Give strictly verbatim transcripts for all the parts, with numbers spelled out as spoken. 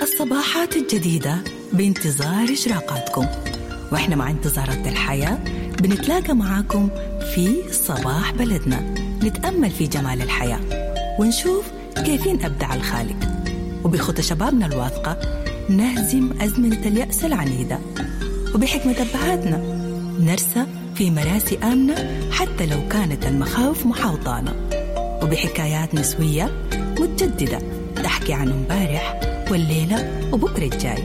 الصباحات الجديدة بانتظار إشراقاتكم، وإحنا مع انتظارات الحياة بنتلاقى معاكم في صباح بلدنا، نتأمل في جمال الحياة ونشوف كيفين أبدع الخالق، وبخطى شبابنا الواثقة نهزم أزمنة اليأس العنيدة، وبحكمة أبهاتنا نرسى في مراسي آمنة حتى لو كانت المخاوف محاوطانا، وبحكايات نسوية متجددة تحكي عن امبارح والليلة وبكرة الجاي،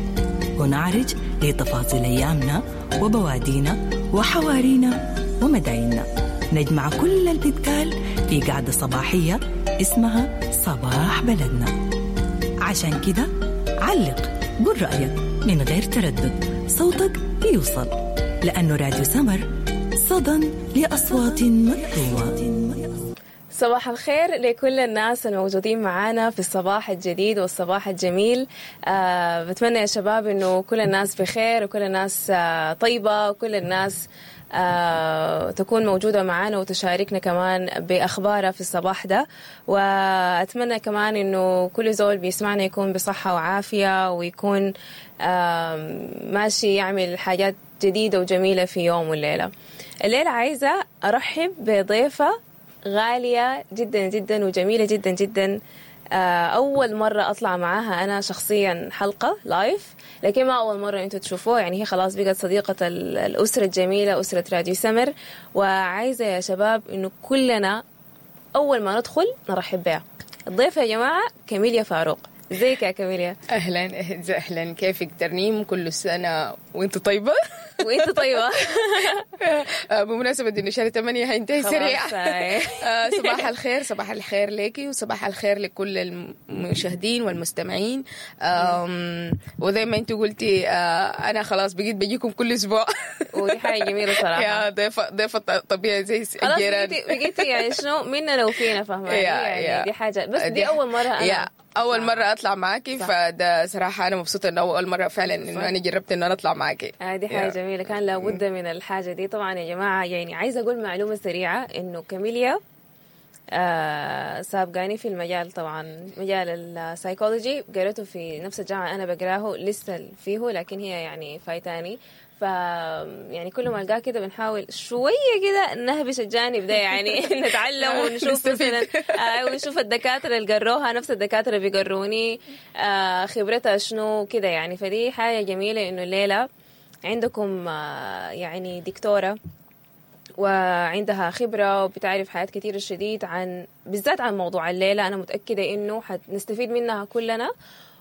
ونعرج لتفاصيل أيامنا وبوادينا وحوارينا ومدايننا. نجمع كل اللي بيتقال في قعدة صباحية اسمها صباح بلدنا. عشان كده علق، قول رأيك من غير تردد، صوتك بيوصل، لأنه راديو سمر صدى لأصوات مكتومة. صباح الخير لكل الناس الموجودين معانا في الصباح الجديد والصباح الجميل. آه بتمنى يا شباب انه كل الناس بخير وكل الناس آه طيبة وكل الناس آه تكون موجودة معانا وتشاركنا كمان بأخبارها في الصباح ده. وأتمنى كمان إنه كل زول بيسمعنا يكون بصحة وعافية ويكون آه ماشي يعمل حاجات جديدة وجميلة في يوم والليلة. الليلة عايزة أرحب بضيفة غالية جدا جدا وجميلة جدا جدا. أول مرة أطلع معاها أنا شخصيا حلقة live، لكن ما أول مرة أنتوا تشوفوها، يعني هي خلاص بقت صديقة الأسرة الجميلة، أسرة راديو سمر. وعايزة يا شباب إنه كلنا أول ما ندخل نرحب بها. الضيفة يا جماعة كاميليا فاروق. ازيك يا كاميليا؟ اهلا اهلا، كيفك ترنيم؟ كل سنة وانت طيبة. وانت طيبة. بمناسبة انه شهر ثمانية هينتهي سريع. صباح الخير، صباح الخير ليكي وصباح الخير لكل المشاهدين والمستمعين. وزي ما انت قلتي انا خلاص بقيت بجيكم كل اسبوع، ودي حاجة جميلة صراحة. يا ضيفه ضيفه طبيعي زي الجيران، بقيتي يعني شنو مننا وفينا، فاهمه يعني؟ دي حاجة، بس دي اول مرة انا أول مرة أطلع معاكي، فده صراحة أنا مبسوطة إنه أول مرة فعلا إنه أنا جربت إنه أنا أطلع معاكي. آه دي حاجة جميلة، كان لابد من الحاجة دي. طبعا يا جماعة يعني عايزة أقول معلومة سريعة إنه كاميليا آه سابقاني في المجال، طبعا مجال السايكولوجي قريته في نفس الجامعة أنا بقراه لسه فيه، لكن هي يعني فايتاني، ف يعني كل ما القاه كده بنحاول شوية كده نهبش الجانب ده، يعني نتعلم ونشوف مثلا آه ونشوف الدكاترة اللي قروها نفس الدكاترة بيقروني آه خبرتها شنو كده يعني. فدي حاجة جميلة إنه الليلة عندكم آه يعني دكتورة وعندها خبرة وبتعرف حاجات كتير شديد عن بالذات عن موضوع الليلة. أنا متأكدة إنه حنستفيد منها كلنا،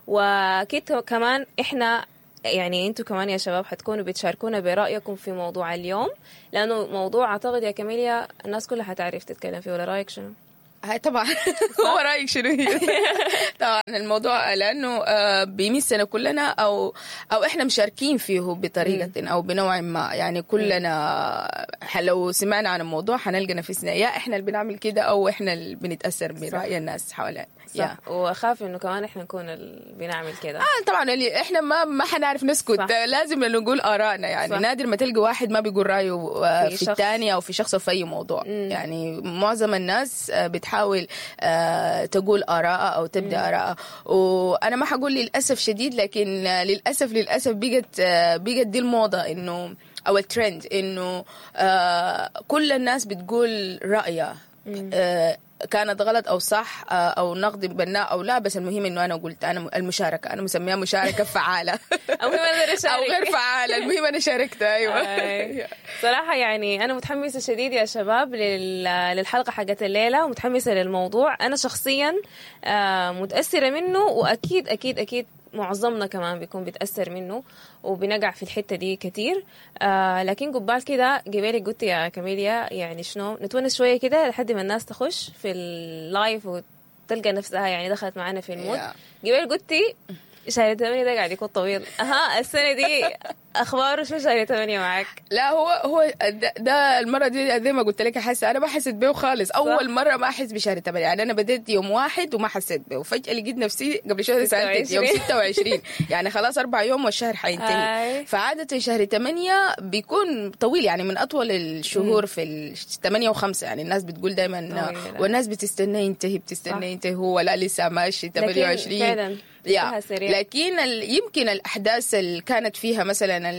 وأكيد كمان إحنا يعني انتوا كمان يا شباب حتكونوا بتشاركونا برأيكم في موضوع اليوم، لأنه موضوع أعتقد يا كاميليا الناس كلها حتعرف تتكلم فيه، ولا رأيك شنو؟ هاي طبعا. هو رأيك شنو هي؟ طبعا الموضوع لأنه بيمسنا كلنا أو أو إحنا مشاركين فيه بطريقة أو بنوع ما، يعني كلنا لو سمعنا عن الموضوع حنلقى نفسنا يا إحنا اللي بنعمل كده أو إحنا اللي بنتأثر برأي الناس حوالينا. صح، وأخاف إنه كمان إحنا نكون اللي بنعمل كده. آه طبعا اللي إحنا ما ما حنعرف نسكت. صح. لازم نقول آرائنا، يعني صح. نادر ما تلقى واحد ما بيقول رأيه في, في الثاني أو في شخص في أي موضوع. مم. يعني معظم الناس بتحاول تقول آراء أو تبدأ آراء، وأنا ما حقول للأسف شديد، لكن للأسف للأسف بقت بقت دي الموضة إنه أو الترند إنه كل الناس بتقول رأيها، كانت غلط أو صح أو نقد بناء أو لا، بس المهم إنه أنا قلت أنا المشاركة، أنا مسميها مشاركة فعالة أو أو غير فعالة، المهم أنا شاركت. أيوة صراحة يعني أنا متحمسة شديد يا شباب للحلقة حقت الليلة، ومتحمسة للموضوع. أنا شخصيا متأثرة منه، وأكيد أكيد أكيد معظمنا كمان بيكون بيتأثر منه وبنقع في الحتة دي كتير. آه لكن قبال كده قبالك قلت يا كاميليا يعني شنو نتونس شوية كده لحد ما الناس تخش في ال live وتلقى نفسها يعني دخلت معانا في ال mood. قبالك قلتي شهر ثمانية ده قاعد يكون طويل. اها السنة دي اخباره شو شهر ثمانية معك؟ لا هو هو ده, ده المرة دي زي ما قلت لك حاسه انا ما حسيت بيه خالص. اول مرة ما احس بشهر ثمانية، يعني انا بديت يوم واحد وما حسيت بيه، وفجاة لقيت نفسي قبل شوية سالتك يوم ستة وعشرين، يعني خلاص اربع يوم والشهر حينتهي. فعاده شهر ثمانية بيكون طويل، يعني من اطول الشهور في ال ثمانية وخمسة، يعني الناس بتقول دايما والناس بتستنى ينتهي بتستنى ينتهي، هو لا لسه ماشي ثمانية وعشرين فعلا. يا لكن يمكن الاحداث اللي كانت فيها مثلا انا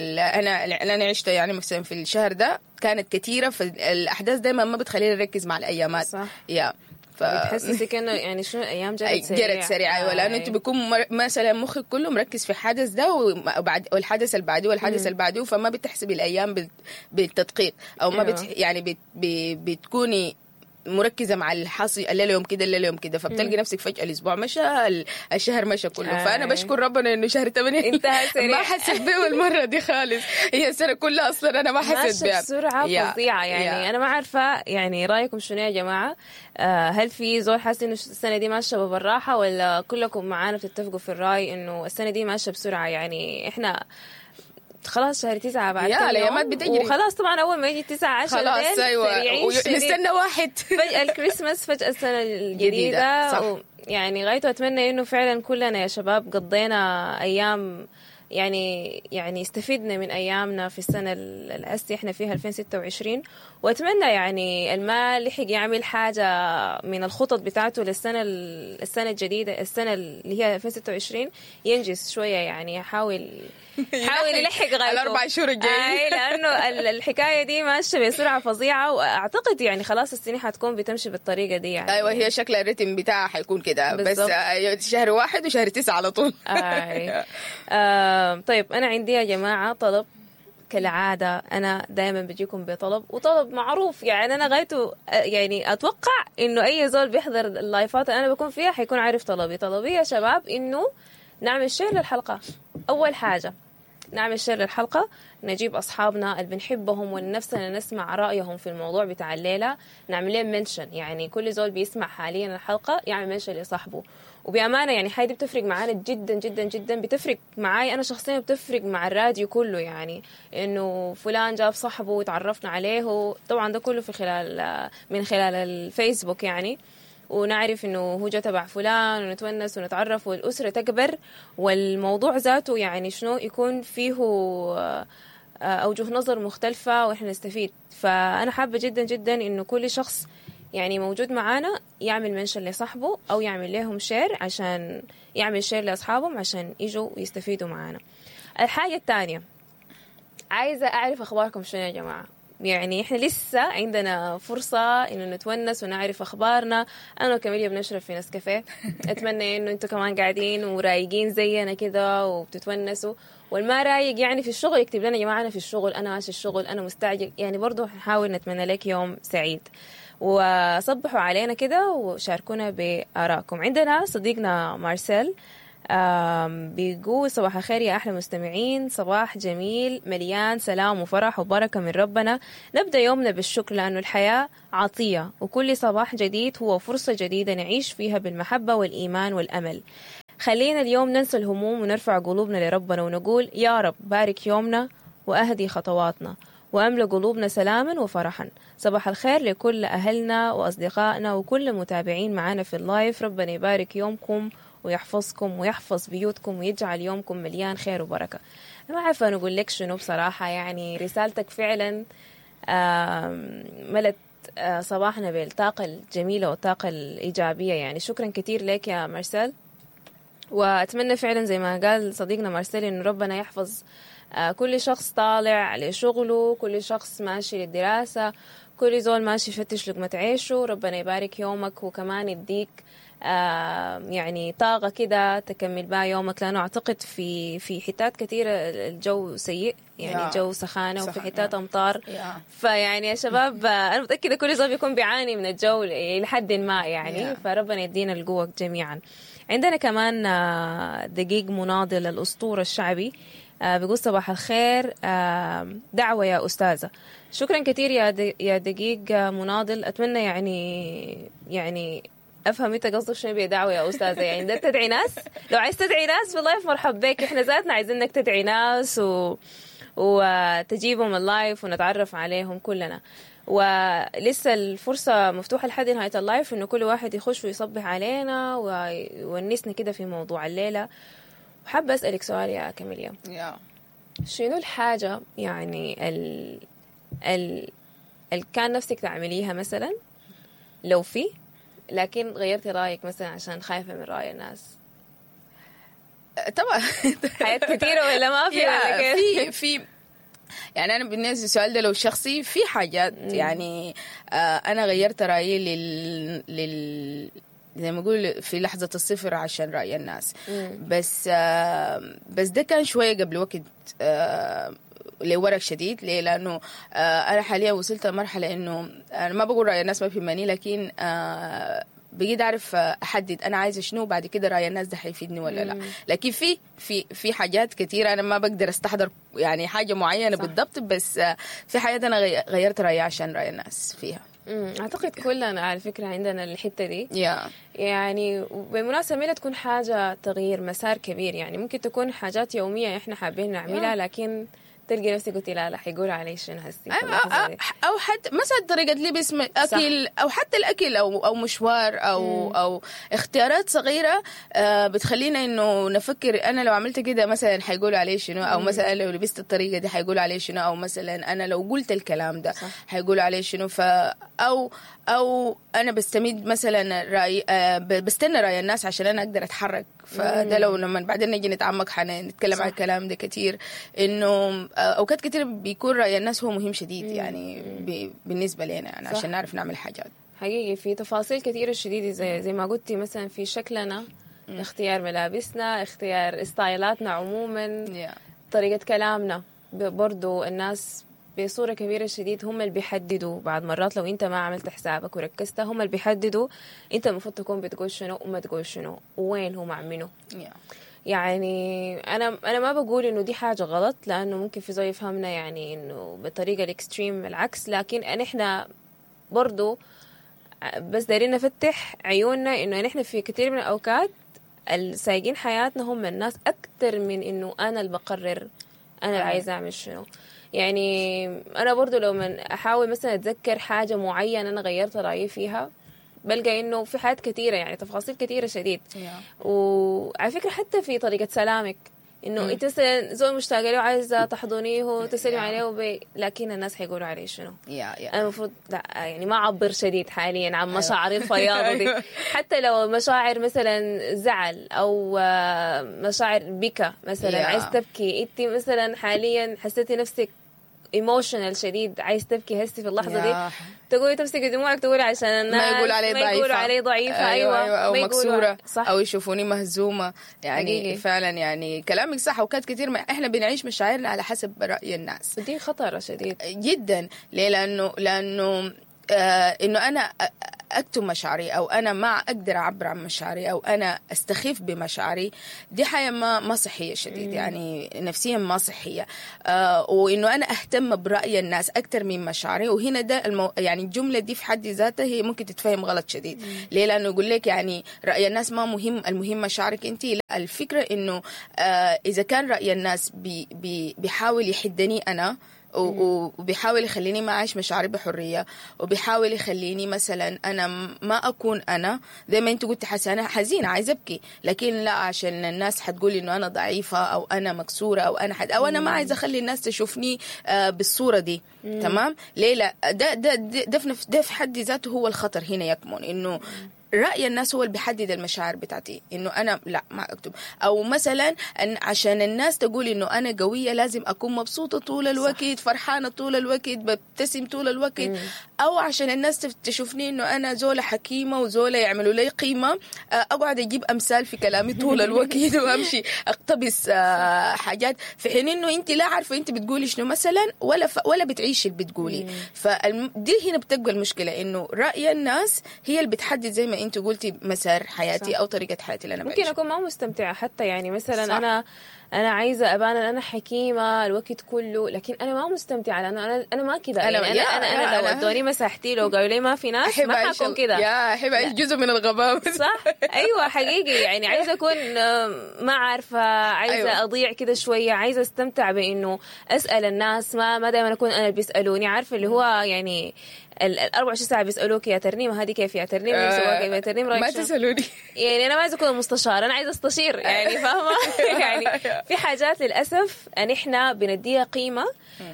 اللي انا عشتها يعني مثلا في الشهر ده كانت كثيرة، فالاحداث دايما ما بتخلينا نركز مع الايامات. صح. يا ف... بتحسسك انه يعني شنو الايام جرت سريع، جرت سريع. ايوه، لانه انت بيكون مر... مثلا مخك كله مركز في الحدث ده وبعد والحدث اللي بعده والحدث اللي بعده، فما بتحسبي الايام بال... بالتدقيق، او ما بت... يعني بت... بتكوني مركزه مع الحصي الليلة يوم كده الليلة يوم كده، فبتلقي نفسك فجاة الاسبوع مشى، الشهر مشى كله. آه. فانا بشكر ربنا انه شهر ثمانية انتهى سريع، ما حسيت به المرة دي خالص، هي السنة كلها اصلا انا ما حسيت بها بسرعة فظيعة يعني. يا. انا ما عارفه يعني رايكم شنو يا جماعة؟ آه هل في زول حاسس انه السنة دي ماشية بالراحة، ولا كلكم معانا بتتفقوا في الراي انه السنة دي ماشية بسرعة؟ يعني احنا خلاص شهر تسعة بعد يا الأيامات بتجري وخلاص، طبعا أول ما يجي تسعة عشر خلاص أيوة نستنى واحد فجأة الكريسماس، فجأة السنة الجديدة. صح. و يعني غايته أتمنى إنه فعلا كلنا يا شباب قضينا أيام يعني يعني استفدنا من أيامنا في السنة اللي إحنا فيها ألفين وستة وعشرين، وأتمنى يعني المال لحق يعمل حاجة من الخطط بتاعته للسنة السنة الجديدة، السنة اللي هي ألفين وستة وعشرين ينجز شوية، يعني يحاول حاول يلحق غايته الأربع شهور الجايين، لأنه الحكاية دي ماشية بسرعة فظيعة، وأعتقد يعني خلاص السنة حتكون بتمشي بالطريقة دي يعني. أيوة هي شكل الريتم بتاعها حيكون كده بس شهر واحد وشهر تسعة على طول. آه. آه. طيب أنا عندي يا جماعة طلب كالعادة، أنا دائما بجيكم بطلب، وطلب معروف يعني أنا غايته يعني أتوقع إنه أي زول بيحضر اللايفات اللي أنا بكون فيها حيكون عارف طلبي. طلبي يا شباب إنه نعمل share للحلقة. أول حاجة نعمل share للحلقة، نجيب أصحابنا اللي بنحبهم ونفسنا نسمع رأيهم في الموضوع بتاع الليلة، نعمل لهم mention، يعني كل زول بيسمع حاليا الحلقة يعمل mention لصاحبه. وبأمانة يعني حاجة دي بتفرق معانا جدا جدا جدا، بتفرق معاي أنا شخصيا، بتفرق مع الراديو كله، يعني إنه فلان جاب صاحبه وتعرفنا عليه، طبعا ده كله في خلال من خلال الفيسبوك يعني، ونعرف إنه هو جا تبع فلان ونتونس ونتعرف والأسرة تكبر، والموضوع ذاته يعني شنو يكون فيه أوجه نظر مختلفة وإحنا نستفيد. فأنا حابة جدا جدا إنه كل شخص يعني موجود معانا يعمل mention لصاحبه أو يعمل لهم share، عشان يعمل share لأصحابهم عشان يجوا ويستفيدوا معانا. الحاجة الثانية عايزة أعرف أخباركم شنو يا جماعة، يعني إحنا لسه عندنا فرصة إنه نتونس ونعرف أخبارنا. أنا وكاميليا بنشرب في نسكافيه، أتمنى إنه أنتوا كمان قاعدين ورايقين زينا كده وبتتونسوا، والما رايق يعني في الشغل يكتب لنا يا جماعة أنا في الشغل، أنا ماشي الشغل، أنا مستعجل، يعني برضو نحاول نتمنى لك يوم سعيد. وصبحوا علينا كده وشاركونا بآرائكم. عندنا صديقنا مارسيل بيقول صباح الخير يا أحلى مستمعين، صباح جميل مليان سلام وفرح وبركة من ربنا. نبدأ يومنا بالشكر لأنه الحياة عطية، وكل صباح جديد هو فرصة جديدة نعيش فيها بالمحبة والإيمان والأمل. خلينا اليوم ننسى الهموم ونرفع قلوبنا لربنا ونقول يا رب بارك يومنا وأهدي خطواتنا وأملأ قلوبنا سلاما وفرحا. صباح الخير لكل أهلنا وأصدقائنا وكل المتابعين معنا في ال live، ربنا يبارك يومكم ويحفظكم ويحفظ بيوتكم ويجعل يومكم مليان خير وبركة. أنا ما عارفة نقول لك شنو بصراحة، يعني رسالتك فعلا ملت صباحنا بالطاقة الجميلة والطاقة الإيجابية، يعني شكرا كثير لك يا مارسيل. وأتمنى فعلا زي ما قال صديقنا مارسيل إنه ربنا يحفظ كل شخص طالع لشغلة، كل شخص ماشي للدراسة، كل زول ماشي يفتش لقمة عيشه. ربنا يبارك يومك وكمان يديك آه يعني طاقة كده تكمل بها يومك، لأنه أعتقد في في حتات كثيرة الجو سيء، يعني الجو سخانة وفي حتات أمطار، فيعني يا شباب أنا متأكدة كل زول بيكون بيعاني من الجو لحد ما يعني، فربنا يدينا القوة جميعا. عندنا كمان دقيق مناضل الأسطورة الشعبي بيقول صباح الخير، دعوة يا أستاذة. شكرا كثير يا يا دقيق مناضل، أتمنى يعني يعني افهم انت قصدك شنو بدعوة يا استاذه، يعني ده تدعي ناس، لو عايز تدعي ناس في ال live مرحب بك، احنا ذاتنا عايزينك تدعي ناس و... وتجيبهم ال live ونتعرف عليهم كلنا. ولسه الفرصة مفتوحة لحد نهاية ال live إنه كل واحد يخش ويصبح علينا ويونسنا كده في موضوع الليلة. وحابة أسألك سؤال يا كاميليا. yeah. شنو الحاجة يعني ال ال ال كان نفسك تعمليها مثلا لو في، لكن غيرتي رأيك مثلا عشان خايفة من رأي الناس؟ طبعا حاجات كثيرة ولا ما في؟ ولا كيف؟ في في يعني أنا بالنسبة للسؤال ده لو شخصي في حاجات يعني آه أنا غيرت رأيي لل لل زي ما أقول في لحظة الصفر عشان رأي الناس. مم. بس آه بس ده كان شوية قبل وقت آه لورق شديد. ليه؟ لأنه آه أنا حاليا وصلت لمرحلة إنه أنا ما بقول رأي الناس ما بيهمني، لكن آه بقيت أعرف أحدد أنا عايزة شنو، وبعد كده رأي الناس ده حيفيدني ولا لا. لكن في في في حاجات كثيرة أنا ما بقدر أستحضر يعني حاجة معينة بالضبط، بس في حاجات أنا غيرت رأيي عشان رأي الناس فيها. مم. أعتقد كلنا على فكرة عندنا الحتة دي. yeah. يعني بالمناسبة ما تكون حاجة تغيير مسار كبير، يعني ممكن تكون حاجات يومية إحنا حابين نعملها، yeah. لكن تلقي نفسك قلتي لا لا حيقولوا علي شنو هسي. أو حتى مثلا طريقة لبس، أكل، أو حتى الأكل أو أو مشوار أو مم. أو اختيارات صغيرة بتخلينا إنه نفكر أنا لو عملت كده مثلا حيقولوا علي شنو، أو مثلا لو لبست الطريقة دي حيقولوا علي شنو، أو مثلا أنا لو قلت الكلام ده حيقولوا علي شنو. ف أو أو أنا بستمد مثلا رأي، بستنى رأي الناس عشان أنا أقدر أتحرك. فده لو لما بعدين نجي نتعمق حنتكلم عن الكلام ده كتير، إنه أوقات كتير بيكون رأي الناس هو مهم شديد يعني بالنسبة لنا يعني عشان نعرف نعمل حاجات. حقيقي في تفاصيل كثيرة شديدة زي زي ما قلتي، مثلا في شكلنا، مم. اختيار ملابسنا، اختيار ستايلاتنا عموما، yeah. طريقة كلامنا برضو الناس بصورة كبيرة شديد هم اللي بيحددوا. بعض مرات لو انت ما عملت حسابك وركزت هم اللي بيحددوا انت المفروض تكون بتقول شنو وما تقول شنو وين هو مع منو. yeah. يعني انا انا ما بقول انه دي حاجة غلط، لانه ممكن في زول يفهمنا يعني انه بطريقة ال extreme العكس، لكن احنا برضو بس دايرين نفتح عيوننا انه نحن في كثير من الاوقات السايقين حياتنا هم الناس اكثر من انه انا اللي بقرر انا اللي عايزه اعمل شنو. يعني انا برضو لو من احاول مثلا اتذكر حاجة معينة انا غيرت رايي فيها، بلقى انه في حاجات كثيرة يعني تفاصيل كثيرة شديد. yeah. وعلى فكرة حتى في طريقه سلامك، انه انت مثلا زول مشتاقة له عايزه تحضنيه وتسلمي yeah. عليه وبي... لكن الناس حيقولوا عليه شنو. yeah, yeah. انا المفروض لا يعني ما اعبر شديد حاليا عن مشاعري الفياضه دي. حتى لو مشاعر مثلا زعل او مشاعر بكى مثلا، yeah. عايز تبكي انت مثلا حاليا، حسيتي نفسك emotional شديد عايز تبكي هسي في اللحظة دي، تقولي تمسكي دموعك تقولي عشان الناس ما يقولوا علي ضعيفة، ما يقولوا علي ضعيفة، أيوة, أيوة, أو ما مكسورة، صح. أو يشوفوني مهزومة يعني حقيقي. فعلا يعني كلامك صح. وكانت كتير ما إحنا بنعيش مشاعرنا على حسب رأي الناس، دي خطرة شديد جدا. ليه؟ لأنه لأنه آه إنه أنا أكتم مشاعري، أو أنا ما أقدر أعبر عن مشاعري، أو أنا أستخف بمشاعري، دي حاجة ما ما صحية شديد. مم. يعني نفسيا ما صحية. آه وإنه أنا أهتم برأي الناس أكتر من مشاعري. وهنا ده المو... يعني الجملة دي في حد ذاتها هي ممكن تتفهم غلط شديد. مم. ليه؟ لأنه يقول لك يعني رأي الناس ما مهم، المهم مشاعرك أنت. لا، الفكرة إنه آه إذا كان رأي الناس بي... بي... بيحاول يحدني أنا، وبيحاول يخليني ما أعيش مشاعري بحرية، وبيحاول يخليني مثلا أنا ما أكون أنا زي ما أنت قلت حسنة حزينة عايزة أبكي، لكن لا عشان الناس حتقول إنه أنا ضعيفة أو أنا مكسورة أو أنا حد أو أنا ما عايزة أخلي الناس تشوفني بالصورة دي. مم. تمام؟ ليه؟ لا، ده ده ده في ده في حد ذاته هو الخطر هنا يكمن، إنه رأي الناس هو اللي بيحدد المشاعر بتاعتي، إنه أنا لا ما أكتب، أو مثلا أن عشان الناس تقول إنه أنا قوية لازم أكون مبسوطة طول الوقت، صح. فرحانة طول الوقت، ببتسم طول الوقت. مم. أو عشان الناس تشوفني إنه أنا زولة حكيمة وزولة يعملوا لي قيمة، أقعد أجيب أمثال في كلامي طول الوقت وأمشي أقتبس حاجات، في حين إنه أنت لا عارفة أنت بتقولي شنو مثلا، ولا ف... ولا بتعيشي اللي بتقولي. فدي هنا بتبقى المشكلة، إنه رأي الناس هي اللي بتحدد زي ما انت قلتي مسار حياتي صح. او طريقه حياتي اللي انا ممكن بعيشها. اكون ما مستمتعه حتى، يعني مثلا صح. انا انا عايزه ابان انا حكيمة الوقت كله، لكن انا ما مستمتعه لانه انا انا ما كده. أنا- يعني انا يا- انا, أنا يا لو أنا- ادوني مساحتي، لو قالوا لي ما في ناس، احب ما أعيش حكون ال- كده. يا احب اعيش جزء من الغباء. صح، ايوه حقيقي. يعني عايزه اكون آه، ما عارفه، عايزه أيوة. أيوة. اضيع كده شوية، عايزه استمتع بانه اسال الناس، ما ما دائما اكون انا اللي بيسالوني، عارفه اللي هو يعني ال ال أربعة وعشرين ساعة بيسالوك يا ترنيمة هذه كيف، يا ترنيمة آه، سواك، يا ترنيم رايك ما شنو؟ تسالوني. يعني انا ما عايزه اكون مستشار، انا عايزه استشير يعني، فاهمه؟ يعني في حاجات للاسف ان احنا بنديها قيمة،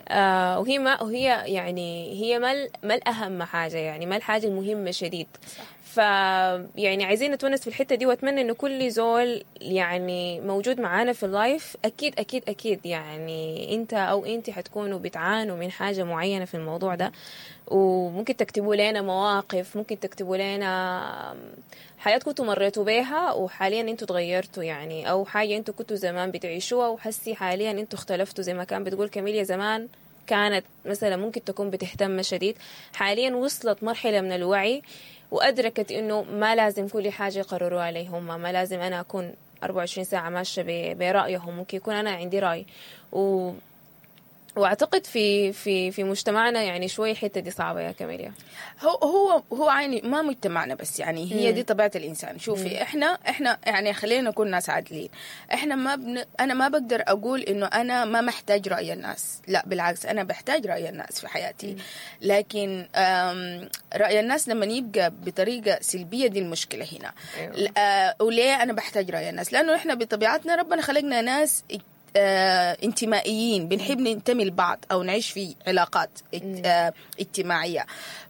آه وهي ما وهي يعني هي ما ال- ما الاهم حاجة، يعني ما الحاجة المهمة شديد. ف يعني عايزين نتونس في الحتة دي، واتمنى انه كل زول يعني موجود معانا في ال live اكيد اكيد اكيد يعني انت او انت حتكونوا بتعانوا من حاجة معينة في الموضوع ده، وممكن تكتبوا لنا مواقف، ممكن تكتبوا لنا حياة كنتوا مريتوا بيها وحاليا انتوا تغيرتوا يعني، او حاجة انتوا كنتوا زمان بتعيشوها وحسي حاليا انتوا اختلفتوا، زي ما كان بتقول كاميليا زمان كانت مثلا ممكن تكون بتهتم شديد، حاليا وصلت مرحلة من الوعي وأدركت إنه ما لازم كل حاجة يقرروها علي هم، ما لازم أنا أكون أربعة وعشرين ساعة ماشية ب- برأيهم، ممكن يكون أنا عندي رأي. و... واعتقد في في في مجتمعنا يعني شوي الحتة دي صعبة يا كاميليا. هو هو هو عيني ما مجتمعنا بس، يعني هي دي طبيعة الانسان. شوفي احنا احنا يعني خلينا نكون ناس عادلين، احنا ما بن انا ما بقدر اقول انه انا ما محتاج راي الناس، لا بالعكس انا بحتاج راي الناس في حياتي، لكن آم، راي الناس لما يبقى بطريقة سلبية دي المشكلة هنا. أيوة. آه، وليه انا بحتاج راي الناس؟ لانه احنا بطبيعتنا ربنا خلقنا ناس آه، انتمائيين، بنحب ننتمي لبعض او نعيش في علاقات اجت- آه، اجتماعية،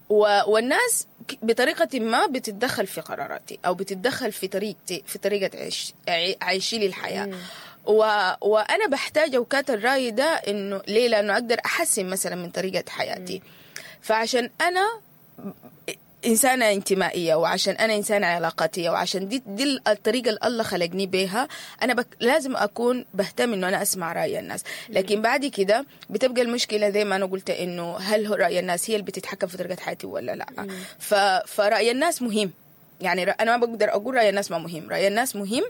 و- والناس ك- بطريقة ما بتتدخل في قراراتي او بتتدخل في طريقتي، في طريقه عيش عي- عيشي للحياة. و... وانا بحتاج اوقات الراي ده، انه ليه؟ لانه اقدر احسن مثلا من طريقه حياتي. فعشان انا إنسانة انتمائية، وعشان أنا إنسانة علاقاتية، وعشان دي دي الطريقة اللي الله خلقني بيها، أنا بك لازم أكون بهتم إنه أنا أسمع رأي الناس. لكن بعد كده بتبقى المشكلة زي ما أنا قلت، إنه هل هو رأي الناس هي اللي بتتحكم في طريقة حياتي ولا لا؟ ف فرأي الناس مهم، يعني رأ- أنا ما بقدر أقول رأي الناس ما مهم، رأي الناس مهم،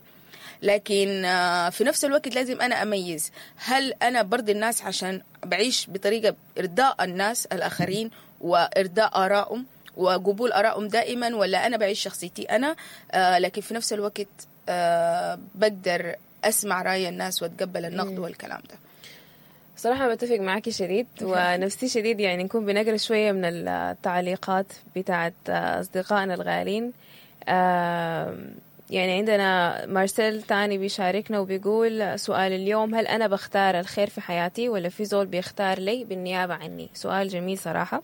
لكن آه، في نفس الوقت لازم أنا أميز هل أنا برضي الناس عشان بعيش بطريقة إرضاء الناس الآخرين وإرضاء آرائهم وقبول آرائهم دائما، ولا أنا بعيش شخصيتي أنا، آه، لكن في نفس الوقت آه، بقدر أسمع رأي الناس وأتقبل النقد والكلام ده. صراحة بتفق معاكي شديد، ونفسي شديد يعني نكون بنقرا شوية من التعليقات بتاعت أصدقائنا الغالين. آم، يعني عندنا مارسيل تاني بيشاركنا وبيقول سؤال اليوم: هل أنا بختار الخير في حياتي ولا في زول بيختار لي بالنيابة عني؟ سؤال جميل صراحة.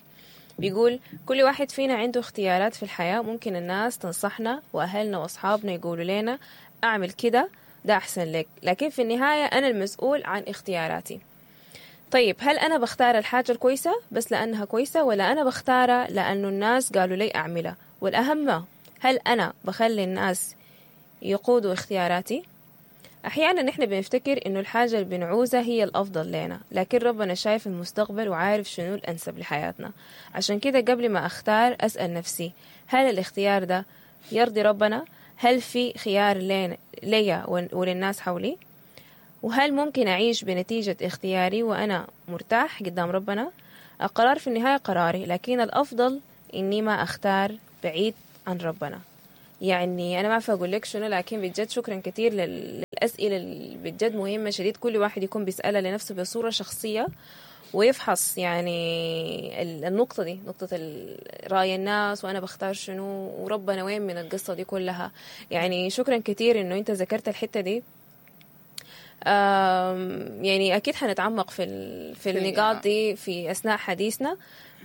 بيقول كل واحد فينا عنده اختيارات في الحياة، ممكن الناس تنصحنا وأهلنا وأصحابنا يقولوا لنا أعمل كده ده أحسن لك، لكن في النهاية أنا المسؤول عن اختياراتي. طيب هل أنا بختار الحاجة الكويسة بس لأنها كويسة، ولا أنا بختارها لأنه الناس قالوا لي أعملها؟ والأهم هل أنا بخلي الناس يقودوا اختياراتي؟ أحيانا نحن بنفتكر إنه الحاجة اللي بنعوزها هي الأفضل لنا، لكن ربنا شايف المستقبل وعارف شنو الأنسب لحياتنا. عشان كده قبل ما أختار أسأل نفسي هل الاختيار ده يرضي ربنا؟ هل في خيار لين- ليا وللناس حولي؟ وهل ممكن أعيش بنتيجة اختياري وأنا مرتاح قدام ربنا؟ القرار في النهاية قراري، لكن الأفضل إني ما أختار بعيد عن ربنا. يعني أنا ما أعرف أقول لك شنو، لكن بجد شكرا كثير لل- للأسئلة اللي بجد مهمة شديد، كل واحد يكون بيسألها لنفسه بصورة شخصية ويفحص يعني ال- النقطة دي، نقطة ال- رأي الناس وأنا بختار شنو وربنا وين من القصة دي كلها. يعني شكرا كثير إنه أنت ذكرت الحتة دي. آم، يعني أكيد حنتعمق في ال- في في النقاط دي في أثناء حديثنا.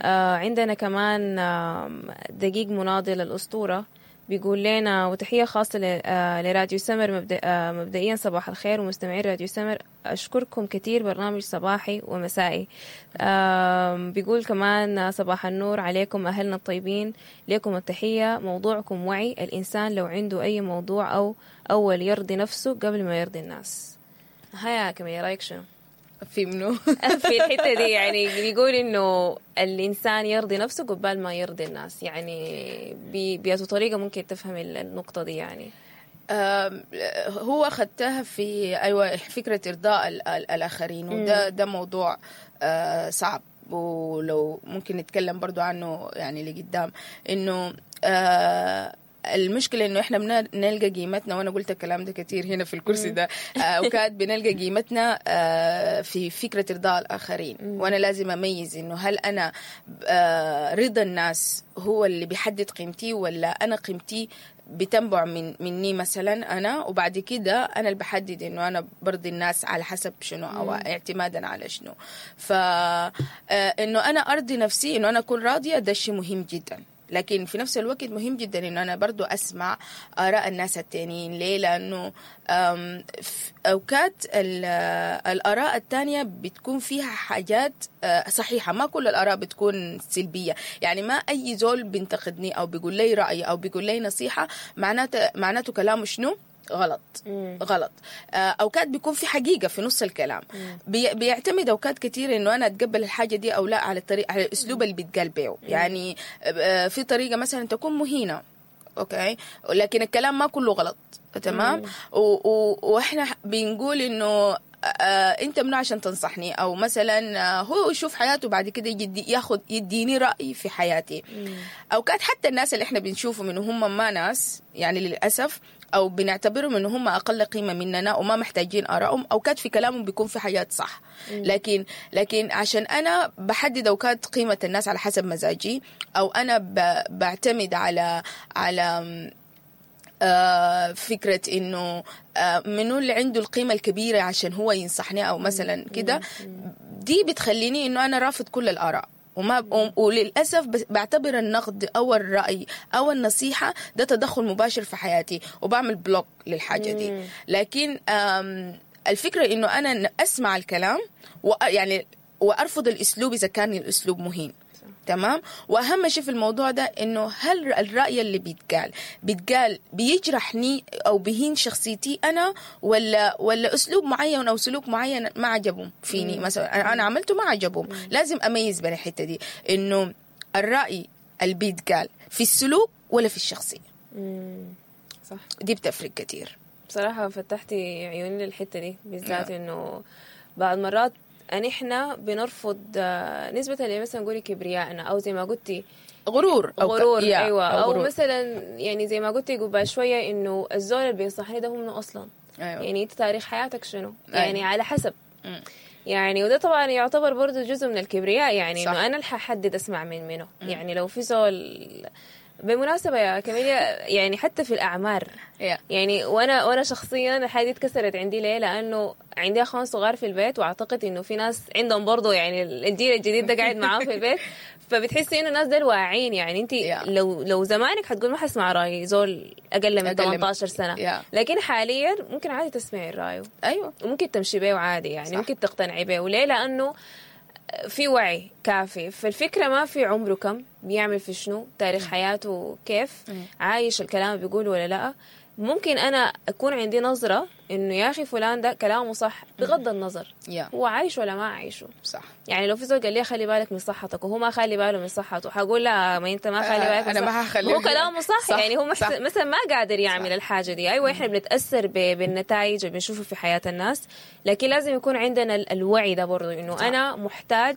آه، عندنا كمان آم، دقيق مناضل الأسطورة بيقول لنا وتحية خاصة ل- آه، لراديو سمر مبدأ آه، مبدئيا صباح الخير ومستمعين راديو سمر، أشكركم كثير، برنامج صباحي ومسائي. آم، بيقول كمان صباح النور عليكم أهلنا الطيبين، لكم التحية، موضوعكم وعي الإنسان لو عنده أي موضوع أو أول يرضي نفسه قبل ما يرضي الناس. هيا كمية رأيك شنو؟ في منو؟ في الحتة دي، يعني بيقول انه الانسان يرضي نفسه قبال ما يرضي الناس، يعني بياتو طريقه ممكن تفهم النقطة دي يعني؟ هو خدتها في ايوه فكرة ارضاء الاخرين، وده ده موضوع صعب، ولو ممكن نتكلم برضو عنه يعني لقدام. انه آه المشكلة انه احنا بنلقى قيمتنا، وانا قلت الكلام ده كتير هنا في الكرسي ده، اوقات بنلقى قيمتنا في فكرة ارضاء الاخرين. وانا لازم اميز انه هل انا رضا الناس هو اللي بيحدد قيمتي، ولا انا قيمتي بتنبع من مني مثلا انا، وبعد كده انا اللي بحدد انه انا برضي الناس على حسب شنو او اعتمادا على شنو. فانه انا ارضي نفسي، انه انا اكون راضية، ده شيء مهم جدا. لكن في نفس الوقت مهم جدا انه انا برضو اسمع اراء الناس التانيين. ليه؟ لانه اوقات الاراء التانية بتكون فيها حاجات صحيحة، ما كل الاراء بتكون سلبية. يعني ما اي زول بينتقدني او بيقول لي رأي او بيقول لي نصيحة معناته معناته كلامه شنو غلط. مم. غلط. اوقات بيكون في حقيقة في نص الكلام. بي بيعتمد اوقات كتير انه انا اتقبل الحاجة دي او لا على الطريق، على الاسلوب اللي بيتقال بيه. يعني في طريقه مثلا تكون مهينة، okay، لكن الكلام ما كله غلط، تمام. واحنا بنقول انه آه انت منو عشان تنصحني، او مثلا آه هو يشوف حياته بعد كده يجي ياخد يديني راي في حياتي. اوقات حتى الناس اللي احنا بنشوفهم انه هم ما ناس يعني للاسف، او بنعتبرهم انه هم اقل قيمة مننا وما محتاجين ارائهم، اوقات في كلامهم بيكون في حاجات صح. لكن لكن عشان انا بحدد اوقات قيمة الناس على حسب مزاجي، او انا بعتمد على على آه فكرة إنه آه منو اللي عنده القيمة الكبيرة عشان هو ينصحني أو مثلا كده، دي بتخليني إنه أنا رافض كل الآراء. وما وللأسف بعتبر النقد أو الرأي أو النصيحة ده تدخل مباشر في حياتي، وبعمل بلوك للحاجة دي. لكن الفكرة إنه أنا أسمع الكلام ويعني وأرفض الأسلوب إذا كان الأسلوب مهين، تمام. واهم شيء في الموضوع ده انه هل الراي اللي بيتقال بيتقال بيجرحني او بيهين شخصيتي انا، ولا ولا اسلوب معين او سلوك معين ما عجبهم فيني مثلا، انا عملته ما عجبهم. لازم اميز بين الحتة دي، انه الراي اللي بيتقال في السلوك ولا في الشخصية. مم. صح، دي بتفرق كتير بصراحة. فتحتي عيوني للحتة دي بالذات، انه بعض مرات أن إحنا بنرفض نسبة اللي مثلا نقولي كبريائنا، أو زي ما قلتي غرور، أو غرور، أيوة، أو, أو مثلا يعني زي ما قلتي قبل شوية إنه الزول اللي بينصحني ده هو منه أصلا. أيوة. يعني أنت تاريخ حياتك شنو؟ أيوة. يعني على حسب. م. يعني وده طبعا يعتبر برضو جزء من الكبرياء، يعني إنه أنا اللي ححدد أسمع من منه. م. يعني لو في زول بالمناسبة يا كاميليا، يعني حتى في الأعمار yeah. يعني وأنا وأنا شخصيا الحاجة دي اتكسرت عندي. ليه؟ لأنه عندي أخوان صغار في البيت، وأعتقد إنه في ناس عندهم برضو يعني الجيل الجديد ده قاعد معاهم في البيت، فبتحسي إنه الناس دول واعيين. يعني أنت yeah. لو لو زمانك حتقول ما حسمع رأي زول أقل من ثمانية عشر سنة yeah. لكن حاليا ممكن عادي تسمعي الرأي، أيوة، وممكن تمشي بيه عادي، يعني صح. ممكن تقتنعي بيه. وليه؟ لأنه في وعي كافي. فالفكرة ما في عمره كم، بيعمل في شنو، تاريخ حياته كيف، عايش الكلام بيقوله ولا لا. ممكن أنا أكون عندي نظرة إنه يا أخي فلان ده كلامه صح بغض النظر yeah. هو عايش ولا ما عايشه. صح. يعني لو في زول قال لي خلي بالك من صحتك وهو ما خلي باله من صحته، حقول لا ما أنت ما خلي بالك من أنا ما هخلي، هو كلامه صح. صح. يعني هو محس... صح. مثلا ما قادر يعمل صح. الحاجة دي. أيوة، إحنا بنتأثر ب... بالنتائج اللي بنشوفه في حياة الناس، لكن لازم يكون عندنا الوعي ده برضو إنه صح. أنا محتاج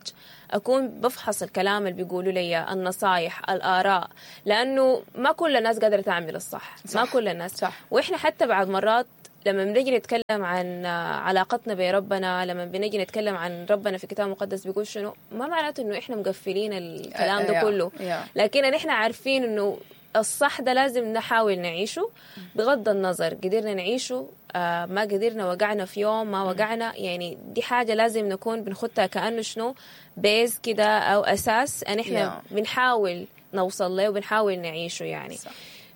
أكون بفحص الكلام اللي بيقولوا لي، النصايح، الآراء، لأنه ما كل الناس قادرة تعمل الصح. صح. ما كل الناس. صح. وإحنا حتى بعد مرات لما بنجي نتكلم عن علاقتنا بربنا، لما بنجي نتكلم عن ربنا في الكتاب المقدس بيقول شنو، ما معناته إنه إحنا مقفلين الكلام ده كله، لكن إحنا عارفين إنه الصح ده لازم نحاول نعيشه بغض النظر قدرنا نعيشه آه ما قدرنا، وقعنا في يوم ما وقعنا، يعني دي حاجة لازم نكون بنخدها كأنه شنو base كده أو أساس أن إحنا yeah. بنحاول نوصل له وبنحاول نعيشه. يعني صح.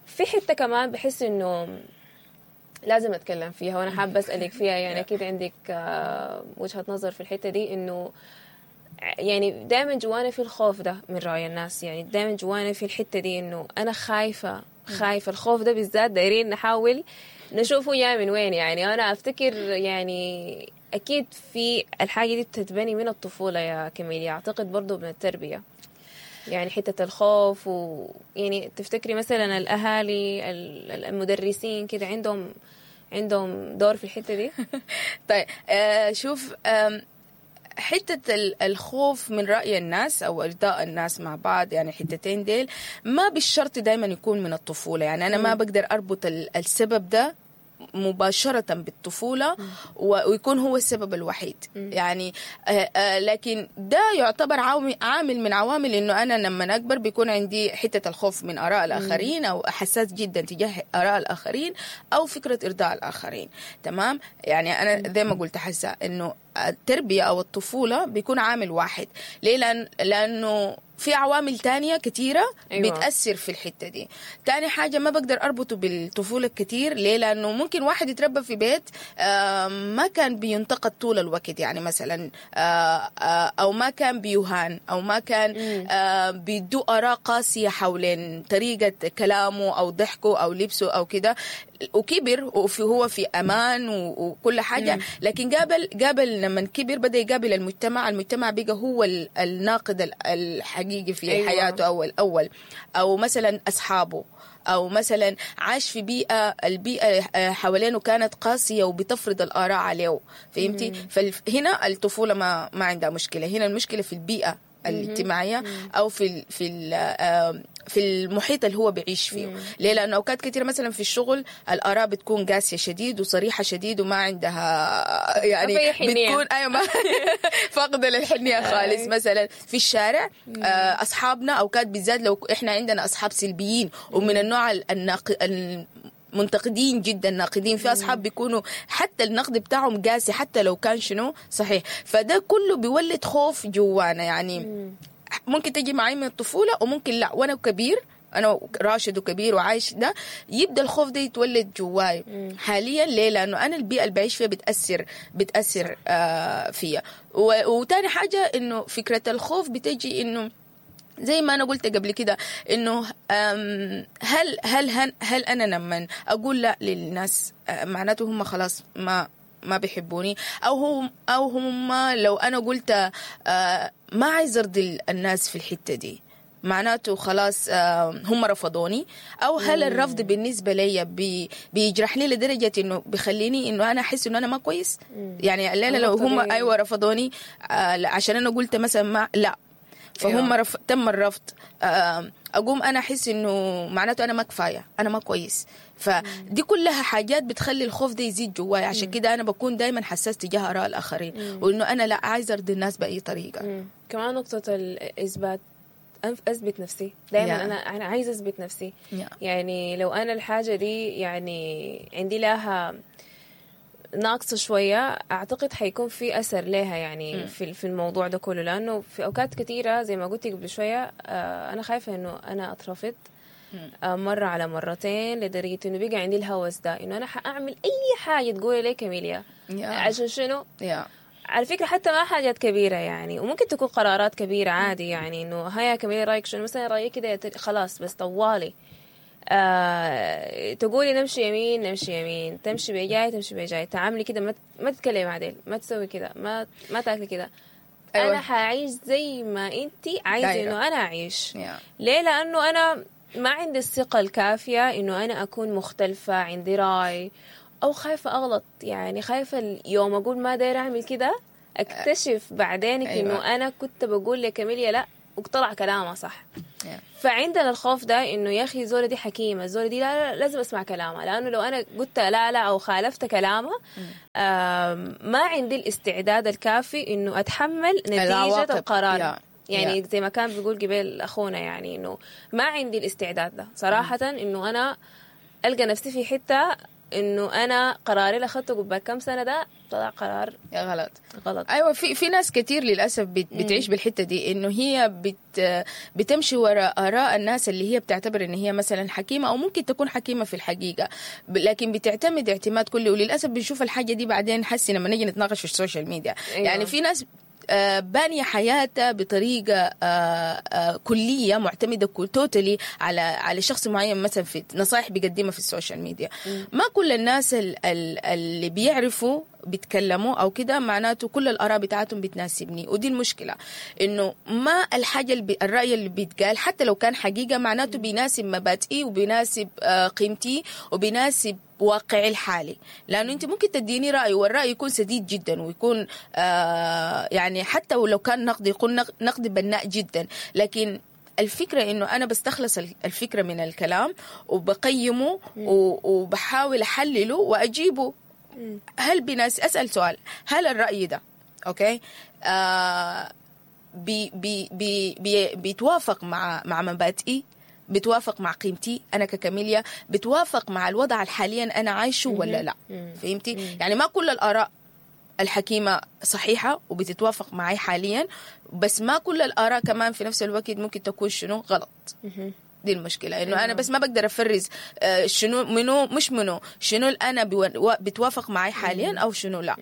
في حتة كمان بحس إنه لازم أتكلم فيها وأنا حابة أسألك فيها، يعني أكيد عندك آه وجهة نظر في الحتة دي، إنه يعني دائما جوانا في الخوف ده من رأي الناس، يعني دائما جوانا في الحتة دي إنه أنا خايفة خايفة الخوف ده بالذات دايرين نحاول نشوفه يا من وين. يعني أنا أفتكر يعني اكيد في الحاجة دي بتتبني من الطفولة يا كميليا، اعتقد برضو من التربية، يعني حتة الخوف و يعني تفتكري مثلا الاهالي المدرسين كده عندهم عندهم دور في الحتة دي؟ طيب آه شوف، آه حتة الخوف من رأي الناس أو إرضاء الناس مع بعض، يعني حتتين ديل ما بالشرط دايما يكون من الطفولة. يعني أنا ما بقدر أربط السبب ده مباشرة بالطفولة ويكون هو السبب الوحيد. يعني آآ آآ لكن ده يعتبر عامل من عوامل إنه أنا لما أكبر بيكون عندي حتة الخوف من آراء الآخرين، أو حساس جدا تجاه آراء الآخرين، أو فكرة إرضاء الآخرين. تمام؟ يعني أنا زي ما قلت حاسة إنه التربية أو الطفولة بيكون عامل واحد. ليه؟ لأن لأنه في عوامل تانية كتيرة. أيوة. بتأثر في الحتة دي. تاني حاجة ما بقدر أربطه بالطفولة كتير. ليه؟ لأنه ممكن واحد يتربى في بيت آه ما كان بينتقد طول الوقت، يعني مثلا آه آه أو ما كان بيهان، أو ما كان آه بيدو آراء قاسية حولين طريقة كلامه أو ضحكه أو لبسه أو كده، وكبر وفي هو في أمان وكل حاجة. لكن قابل قابل لما كبر بدأ يقابل المجتمع، المجتمع بقى هو الناقد الحقيقي في أيوة. حياته أو الأول، أو مثلا أصحابه، أو مثلا عاش في بيئة، البيئة حوالينه كانت قاسية وبتفرض الآراء عليه. فهمتي؟ فهنا الطفولة ما ما عندها مشكلة، هنا المشكلة في البيئة الاجتماعية أو في ال في ال في المحيط اللي هو بيعيش فيه. ليه؟ لأنه أوقات كتير مثلا في الشغل الآراء بتكون قاسية شديد وصريحة شديد وما عندها يعني بتكون أيوة ما فاقدة للحنية خالص. مثلا في الشارع أصحابنا أوقات بالذات لو إحنا عندنا أصحاب سلبيين ومن النوع الناق منتقدين جدا، ناقدين، في أصحاب بيكونوا حتى النقد بتاعهم قاسي حتى لو كان شنو صحيح. فده كله بيولد خوف جوانا. يعني ممكن تجي معي من الطفولة وممكن لا، وأنا كبير، أنا راشد وكبير وعايش ده، يبدأ الخوف ده يتولد جواي حاليا. ليه؟ لأنه أنا البيئة اللي بعيش فيها بتأثر بتأثر آه فيها. وتاني حاجة إنه فكرة الخوف بتجي إنه زي ما أنا قلت قبل كده إنه هل هل هل, هل أنا لما أقول لا للناس معناته هم خلاص ما ما بيحبوني، أو هم أو هم لو أنا قلت ما عايز أرضي الناس في الحتة دي معناته خلاص هم رفضوني، أو هل الرفض بالنسبة لي بي بيجرحني لدرجة إنه بيخليني إنه أنا أحس إنه أنا ما كويس. يعني الليلة لو هم أيوة رفضوني عشان أنا قلت مثلا ما لا، فهم رف... تم الرفض، أقوم أنا أحس إنه معناته أنا ما كفاية، أنا ما كويس. فدي كلها حاجات بتخلي الخوف ده يزيد جواي. عشان كده أنا بكون دايما حساس تجاه آراء الآخرين، وإنه أنا لا عايز أرضي الناس بأي طريقة. مم. كمان نقطة الإثبات، أثبت نفسي دايما. yeah. أنا أنا عايز أثبت نفسي. yeah. يعني لو أنا الحاجة دي يعني عندي لها ناقصة شوية، أعتقد حيكون في أثر لها يعني في في الموضوع ده كله، لأنه في أوقات كثيرة زي ما قلت قبل شوية آه أنا خايفة إنه أنا أترفض آه مرة على مرتين، لدرجة إنه بقى عندي الهوس ده إنه أنا حأعمل أي حاجة تقولي لي كاميليا. yeah. عشان شنو؟ yeah. على فكرة حتى ما حاجات كبيرة يعني، وممكن تكون قرارات كبيرة عادي، يعني إنه هيا كاميليا رأيك شنو مثلا، رأيك كده خلاص، بس طوالي آه، تقولي نمشي يمين نمشي يمين، تمشي بجاي تمشي بجاي، تعاملي كده، ما ما تتكلمي عدل، ما تسوي كده، ما ما تاكلي كده. أيوة. انا حاعيش زي ما انتي عايزه انه انا اعيش. yeah. ليه؟ لانه انا ما عندي الثقة الكافيه انه انا اكون مختلفة، عندي راي، او خايفة اغلط، يعني خايفة اليوم اقول ما دايرة اعمل كده، اكتشف بعدين. أيوة. انه انا كنت بقول لكاميليا لا وطلع كلامها صح. yeah. فعندنا الخوف ده انه يا اخي زولة دي حكيمة، زولة دي لا, لا لازم اسمع كلامها، لانه لو انا قلت لا لا او خالفت كلامها ما عندي الاستعداد الكافي انه اتحمل نتيجة القرار. yeah. يعني yeah. زي ما كان بيقول قبل اخونا، يعني انه ما عندي الاستعداد ده صراحة، انه انا القى نفسي في حتة انه انا قراري اللي اخذته قبل كم سنة ده طلع قرار غلط غلط. ايوه، في في ناس كتير للاسف بت بتعيش بالحتة دي، انه هي بت بتمشي وراء اراء الناس اللي هي بتعتبر ان هي مثلا حكيمة، او ممكن تكون حكيمة في الحقيقة، لكن بتعتمد اعتماد كلي. وللاسف بنشوف الحاجة دي بعدين حسي لما نيجي نتناقش في ال social media. أيوة. يعني في ناس بانية حياتها بطريقة كلية معتمدة totally على على شخص معين، مثلا في نصائح بيقدمها في ال social media. ما كل الناس اللي بيعرفوا بيتكلموا او كده معناته كل الاراء بتاعتهم بتناسبني. ودي المشكلة، انه ما الحاجة اللي بي الراي اللي بيتقال حتى لو كان حقيقة معناته بيناسب مبادئي وبيناسب قيمتي وبيناسب واقعي الحالي. لانه انت ممكن تديني راي والراي يكون سديد جدا ويكون آه يعني حتى ولو كان نقد يكون نقد بناء جدا، لكن الفكرة إنه أنا بستخلص الفكرة من الكلام وبقيمه وبحاول أحلله وأجيبه. هل بناس أسأل سؤال، هل الرأي ده okay آه بي بي بي بي بيتوافق مع مع مبادئي، بتوافق مع قيمتي أنا ككاميليا، بتوافق مع الوضع الحاليا أنا عايشه ولا لا؟ فهمتي؟ يعني ما كل الآراء الحكيمة صحيحة وبتتوافق معي حاليا، بس ما كل الآراء كمان في نفس الوقت ممكن تكون شنو غلط. دي المشكلة، إنه أنا بس ما بقدر أفرز شنو منو مش منو، شنو أنا بتوافق معي حاليا أو شنو لا.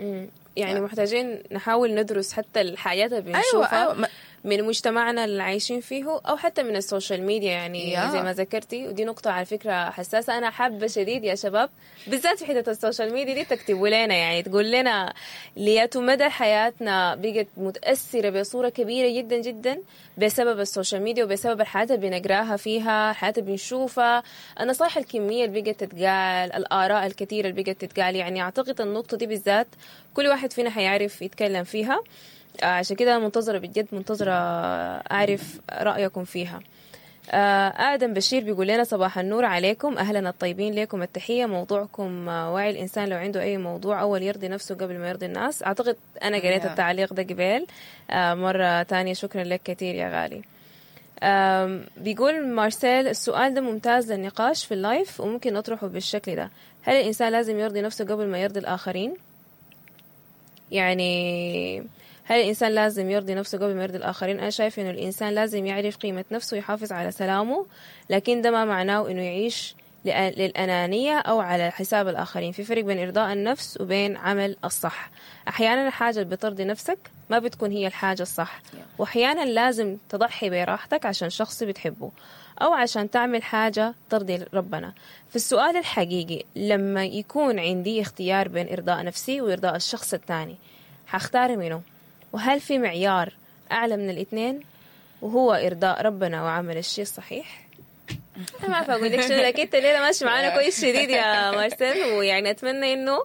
يعني محتاجين نحاول ندرس حتى الحاجات اللي بنشوفها أيوة أيوة. من مجتمعنا اللي عايشين فيه أو حتى من ال social media، يعني yeah. زي ما ذكرتي. ودي نقطة على فكرة حساسة، أنا حابة شديد يا شباب بالذات في حتة ال social media دي تكتبوا لنا، يعني تقول لنا لياتو مدى حياتنا بقت متأثرة بصورة كبيرة جدا جدا بسبب ال social media وبسبب الحياة اللي بنقراها فيها، الحياة اللي بنشوفها، النصائح الكمية اللي بقت تتقال، الآراء الكثيرة اللي بقت تتقال. يعني أعتقد النقطة دي بالذات كل واحد فينا حيعرف يتكلم فيها، عشان كده منتظرة بجد، منتظرة أعرف رأيكم فيها. آدم بشير بيقول لنا صباح النور عليكم، أهلنا الطيبين، لكم التحية. موضوعكم وعي الإنسان لو عنده أي موضوع أول يرضي نفسه قبل ما يرضي الناس. أعتقد أنا قريت التعليق ده قبل مرة تانية، شكرا لك كثير يا غالي. بيقول مارسيل السؤال ده ممتاز للنقاش في ال live وممكن نطرحه بالشكل ده، هل الإنسان لازم يرضي نفسه قبل ما يرضي الآخرين؟ يعني هل الإنسان لازم يرضي نفسه قبل ما يرضي الآخرين؟ أنا شايف إنه الإنسان لازم يعرف قيمة نفسه ويحافظ على سلامه، لكن ده ما معناه إنه يعيش للأنانية أو على حساب الآخرين. في فرق بين إرضاء النفس وبين عمل الصح. أحيانا الحاجة اللي بترضي نفسك ما بتكون هي الحاجة الصح، وأحيانا لازم تضحي براحتك عشان شخص بتحبه أو عشان تعمل حاجة ترضي ربنا. في السؤال الحقيقي لما يكون عندي اختيار بين إرضاء نفسي وإرضاء الشخص الثاني، هختار منه؟ وهل في معيار أعلى من الاثنين وهو إرضاء ربنا وعمل الشيء الصحيح؟ أنا ما أعرف أقول لك شنو، لكن أنت الليلة ماشي معانا كويس شديد يا مارسيل، ويعني أتمنى إنه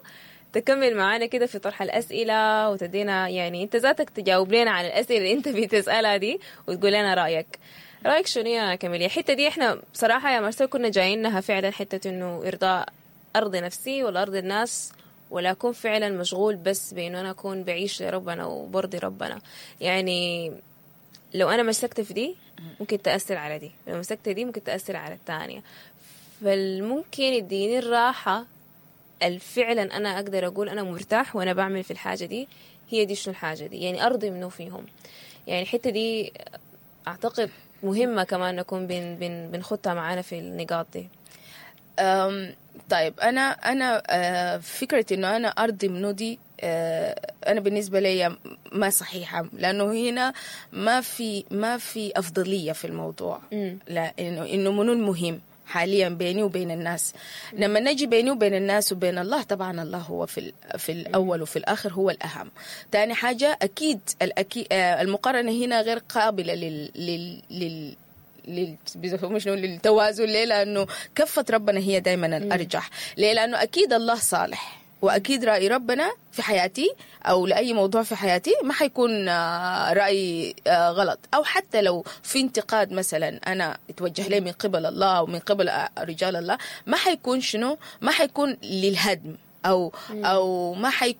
تكمل معانا كده في طرح الأسئلة وتدينا، يعني أنت ذاتك تجاوب لنا على الأسئلة اللي أنت بتسألها دي وتقول لنا رأيك. رأيك شنو يا كاميليا؟ الحتة دي إحنا بصراحة يا مارسيل كنا جايينها فعلا حتة إنه إرضاء أرضي نفسي ولا أرضي الناس، ولا أكون فعلا مشغول بس بإنه أنا أكون بعيش لربنا وبرضي ربنا. يعني لو أنا مسكت في دي ممكن تأثر على دي، لو مسكت دي ممكن تأثر على الثانية. فالممكن يديني الراحة الفعلا أنا أقدر أقول أنا مرتاح وأنا بعمل في الحاجة دي، هي دي شنو الحاجة دي، يعني أرضي منه فيهم. يعني الحتة دي أعتقد مهمة كمان نكون بن بن بنخطها معانا في النقاط دي. أم طيب أنا أنا فكرة إنه أنا أرضي منه دي أنا بالنسبة لي ما صحيحة، لأنه هنا ما في ما في أفضلية في الموضوع. لا إنه إنه منو المهم حاليا بيني وبين الناس. لما نجي بيني وبين الناس وبين الله، طبعا الله هو في في الأول وفي الآخر هو الأهم. تاني حاجة أكيد الأكيد المقارنة هنا غير قابلة لل لل لل لل للتوازن. ليه؟ لأنه كفة ربنا هي دايما الأرجح. ليه؟ لأنه أكيد الله صالح، وأكيد رأي ربنا في حياتي أو لأي موضوع في حياتي ما حيكون رأي غلط، أو حتى لو في انتقاد مثلا أنا اتوجه لي من قبل الله ومن قبل رجال الله، ما حيكون شنو، ما حيكون للهدم أو أو ما حيكون